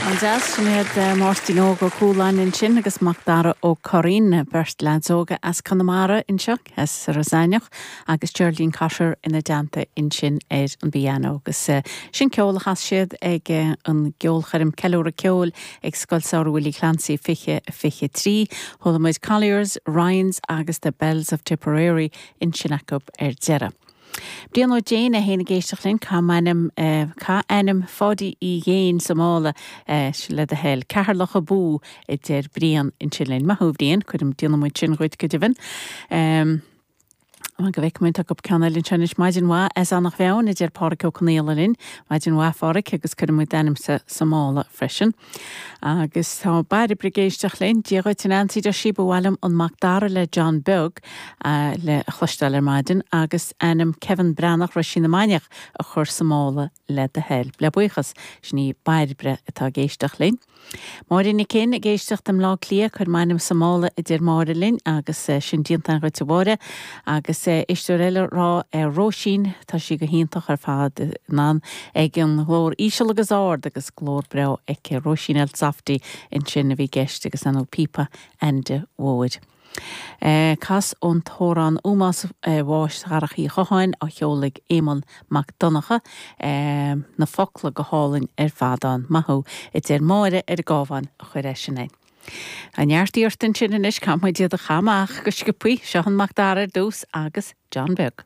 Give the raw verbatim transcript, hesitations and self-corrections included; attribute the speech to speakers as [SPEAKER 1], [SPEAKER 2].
[SPEAKER 1] An-deas, sin iad Máirtín Óg Ó Cualáin ansin agus Macdara Ó Curraoin, beirt leaids óga as Conamara anseo, as Ros Eimhneach, agus Geraldine Cotter ina dteannta ansin ar an bpianó. Agus sin ceol a chas siad ag an gceolchoirm Ceiliúradh Ceoil ag Scoil Samhraidh Willie Clancy fiche fiche trí. Chuala muid Colliers, Ryans agus The Bells of Tipperary ansin acu ar deireadh. Brian Ó Déin é féin ag éisteacht linn, caith m'ainm caith ainm Pháidí Uí Dhéin sa mála le do thoil. Ceatharlach abú a deir Brian ansin linn. Maith thú Brian, cuirim déanfaidh muid sin dhuit go deimhin. Um, go bhfeice muid tá ceann eile anseo anois maidin mhaith as Eanach Mheáin a deir Pádraig Ó Conaola linn, maidin mhaith Phádraig agus cuirim muid d'ainmse sa mála freisin. Agus tá Bairbre ag éisteacht linn, Dia dhuit a Nancy deir sí ba mhaith liom an Macdara le John Beag le chloisteáil ar maidin agus ainm Kevin Breathnach Roisín na Mainiach a chur sa mála le do thoil. Le buíochas sin í Bairbre atá ag éisteacht linn. Máire Nic Fhinn ag éisteacht i mBleá Cliath cuir m'ainm sa mála a deir Máire linn agus sin déanta dhuit a Mháire agus éisteoir eile rá ar Róisín tá sí go hiontach ar fad nan ag an nglór íseal agus ard agus glór breá aici Róisín El Softy ansin a bhí i gceist agus an píopa Ainde Mhóir. Eh, cas ón t-amhrán Ómós eh, bháis Dharach Uí Chotháin á cheol ag Éamonn Mac Donncha eh, na focla go hálainn ar fad ann maith thú a deir Máire ar an gCabhán a chuir é sin é. An neart ansin anois caithfidh muid iad a chaitheamh amach go sciobtha seo an Macdara ar dtús agus John Beag.